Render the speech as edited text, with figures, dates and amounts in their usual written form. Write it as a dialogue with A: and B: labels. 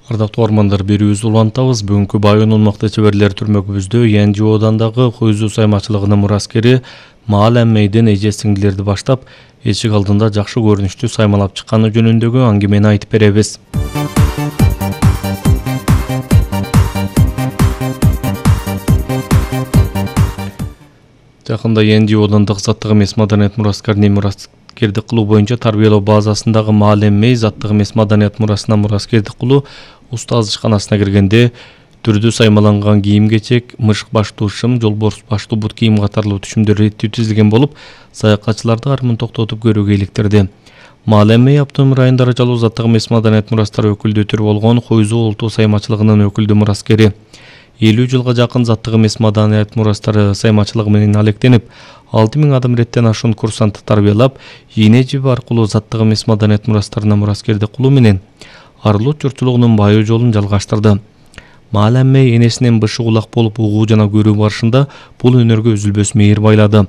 A: Ардактуу армандар, берүүбүздү улантабыз. Бүгүнкү Байонун мыкты чеберлер түрмөгүбүздө ЯНЖОдандагы Куйзу саймачылыгынын мураскери Маалем Мейден эже-сиңдилерди баштап, эшик алдында жакшы көрүнүштүү саймалап чыкканы жөнүндөгү аңгемени айтып беребиз. Жакында ЯНЖОдандык заттык эмес маданият мураскеринин мураскердик кылуу боюнча тарбиялоо базасындагы Маалем Мей заттык эмес маданият мурасына мураскердик кылуу устаз ишканасына киргенде түрдүү саймаланган кийим-кечек, мышык баштуу шым, жолборс баштуу бут кийим катарлуу түшүмдөр реттүү тизилген болуп, саякатчыларды армын токтотуп көрүүгө иликтирди. Маалем Мей автономдук район даражалуу заттык эмес маданият мурастары өкүлдүү түрү болгон Куйзу улуттук саймачылыгынын өкүлдүү мураскери. 50 жылга жакын заттык эмес маданият мурастары саймачылыгы менен алектенип, 6000 адам реттен ашуун курсантты тарбиялап, ийне жиби аркылуу заттык эмес маданият мурастарына мураскердик кылуу менен арылуу журтчулугунун байоо жолун жалгаштырды. Маалем Мей энесинен бышы кулак болуп угуу жана көрүү барышында бул өнөргө үзүлбөс мээр байлады.